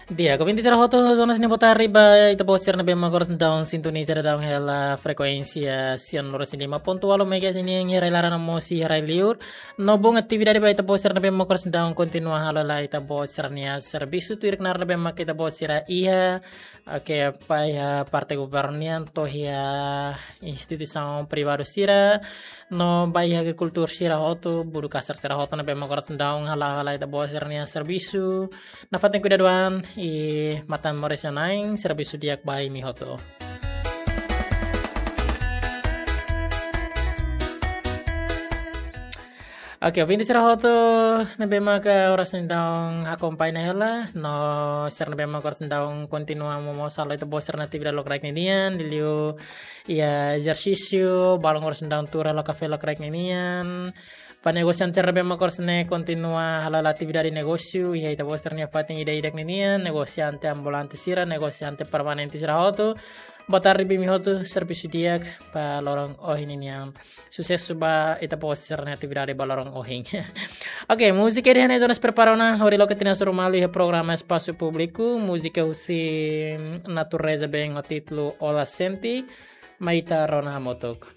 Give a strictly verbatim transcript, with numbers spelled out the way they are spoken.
Di'ak, ouvinte sira hotu, zona sini botar riba, ita-boot sira ne'ebé mak oras daudaun sintoniza daudaun hela frekuénsia cien lima ponto ualu megahertz nian iha rai-laran no mós iha rai-liur. No bom atividade ba ita-boot sira ne'ebé mak oras daudaun kontinua halo hela ita-boot sira-nia servisu tuir knaar ne'ebé mak ita-boot sira iha, oke, ba iha parte governu nian, to'o iha instituisaun privadu sira, no ba iha agrikultór sira hotu, buruh kasar sira hotu ne'ebé mak oras daudaun hala'o hela ita-boot sira-nia servisu. Nafatin kuidadu an, i matan moris iha Na'i, servisu di'ak ba imi hotu. Oke, ouvinte sira hotu ne'ebé maka oras daudaun akompaña hela, no sira ne'ebé maka oras daudaun kontinua momoos halo ita-boot sira-nia atividade lokraik ninian, liuliu iha ezersísiu, balun oras daudaun tuur halo kafé lokraik ninian. Ba negosiante sira ne'ebé maka oras ne'e kontinua halo hela atividade negósiu, iha ita-boot sira-nia fatin ida-idak ninian, negosiante ambulante sira, negosiante permanente sira hotu. Boa tarde ba imi hotu, servisu di'ak ba loron ohin ninian. Susesu ba ita-boot sira-nia atividade ba loron ohin. Oke, múzika ida-ne'e zona prepara ona, hodi loke tinan suru malu iha programa Espasu Públiku, múzika husi Natureza Band ho títulu Ola Sente, mai ita rona hamutuk.